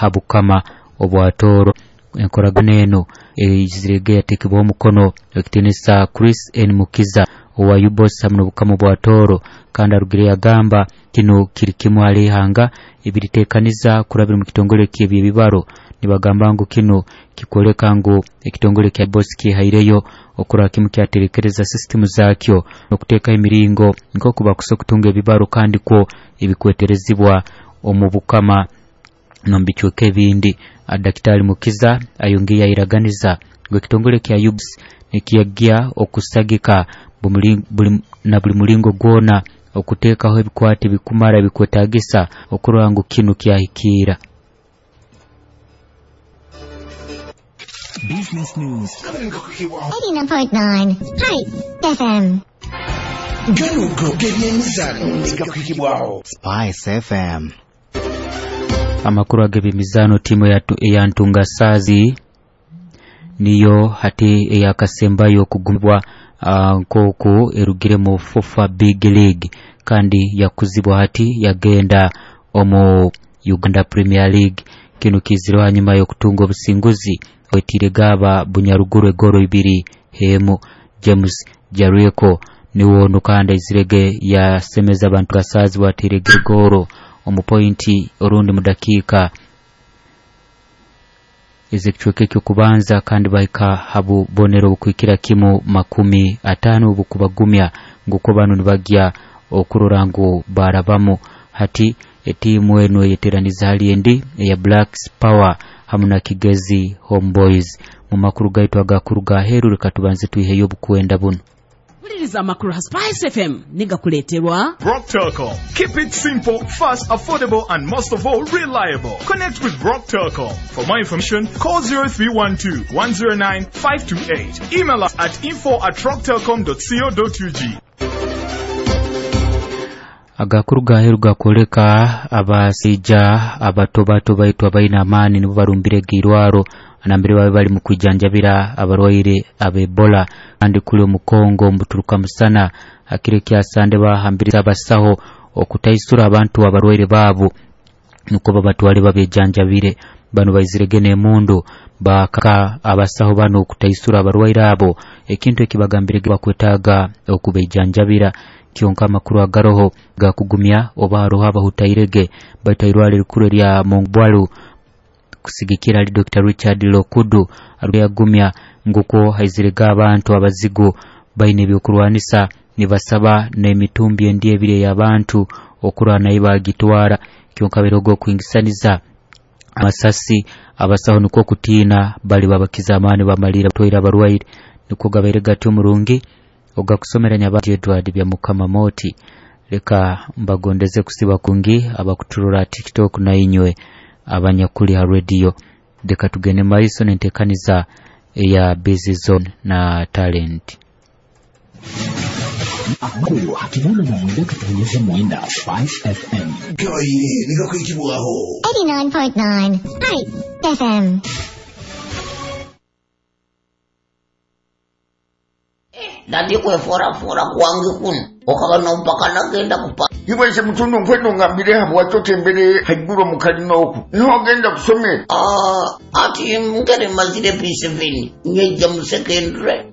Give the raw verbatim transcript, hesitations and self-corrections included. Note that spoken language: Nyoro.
Ha bukama obwa Tooro. Enkoragana eno eizirege yatekebwaho omukono ekitinisa Chris N Mukiza owa U B O S hamu n'obukama bwa Tooro, kandi arugire yagamba kinu kiri kimu hali ihanga ebiritekaniza kurabira mu kitongole ky'ebyebibaro. Nibagamba ngu kinu kikwoleka ngu ekitongole kya U B O S kihaireyo okurora kimu kyaterekereza sisitimu zakyo n'okuteekaho emiringo nk'oku bakusa okutunga ebibaro kandi kwo ebikweterezibwa omu bukama n'omu bicweka ebindi. Dakitari Mukiza ayongeye yayiraganiza ngu ekitongole kya U B S nikiyagya okusagika na buli mulingo gwona okuteekaho ebikwate ebikumara ebikwetagisa okurora ngu kinu kyahikiira. Business News. eighty-nine point nine Spice F M. Ganugo g'ebyemizaano gakuhikibwaho Spice F M. Amakuru ag'ebyemizaano, tiimu eya Ntunga Saazi niyo hati eyakasembayo okugumibwa nk'oku erugire mu FUFA Big League kandi yakuzibwa hati yagenda omu Uganda Premier League. Kinu kizireho hanyuma y'okutunga obusinguzi wetiire gaba Bunyaruguru egoro ibiri hemu. James Jericho niwo onu kandi aizirege yasemeza abantu Gasazi bwatirege egoro omu pointi orundi mu dakiika ez'ekicweka ekyokubanza, kandi bahika ha bubonero obukuhikira kimu makumi ataano obukubagumya ngu banu nibagya okurora ngu barabamu. Hati etiimu enu eyeteraniza hali endi eya Blacks Power hamu na Kigezi Homeboys. Mu makuru gaitu agakuruga aheeru, leka tubanze twiheyo obukwenda bunu. Wuliriza amakuru ha Spice F M nigakuleeterwa Rock Telcom. Keep it simple, fast, affordable, and most of all, reliable. Connect with Rock Telcom. For more information, call zero three one two one zero nine five two eight. Email us at info at rocktelcom dot co dot U G. Agakuru gaheru gakwoleka abasaija abato bato baitu abaine amaani nibo barumbire irwaro nambere babe bali mu kwijanjabira abarwaire ab'Ebola, kandi kuli omu Kongo omuturuka musana akiro kyasande bahambiriza abasaho okutaisura abantu abarwaire baabo nukwo babatwale babejanjabire. Bano baizirege n'emundu bakaka abasaho bano okutaisura abarwaire abo, ekintu ekibagambire bakwetaaga okubeijanjabira. Kyonka amakuru agaroho gakugumya oba haroho abahutairege baitu irwaro erikuru erya Mongbwalu kusigikira ali Doctor Richard Lokudu yagumya nguko haizirege abantu abazigu baine ebyokurwanisa nibasaba n'emitumbi endi ebiri ey'abantu okurwana nayo bagitwara. Kyonka berogo okuingisaniza amasasi, abasaho nikwo kutiina bali babakiza amaani bamalira batwaire abarwaire. Nikwo gabaire gati omurungi ogakusomera Nyabati Edward bya Mukama Moti. Leka mbagondeze kusiba kungi abakuturora TikTok na inywe abanyakuli ha radio. Leka tugende maiso nentekaniza eya Busy Zone na Talent. Amakuru hakibona na mwenda katonyeza mwenda Spice F M. Gabaire nigakuhikibwaho eighty-nine point nine Spice F M. Nandi kweforafora kwange kuno okaba nompaka nagenda kupa. Iwese mutundu nkwendo ngambire habwaki otembere haiguru mu kalina oku niho ogenda kusomera. Ah, ati ngere mazire P seven nyejja mu secondary.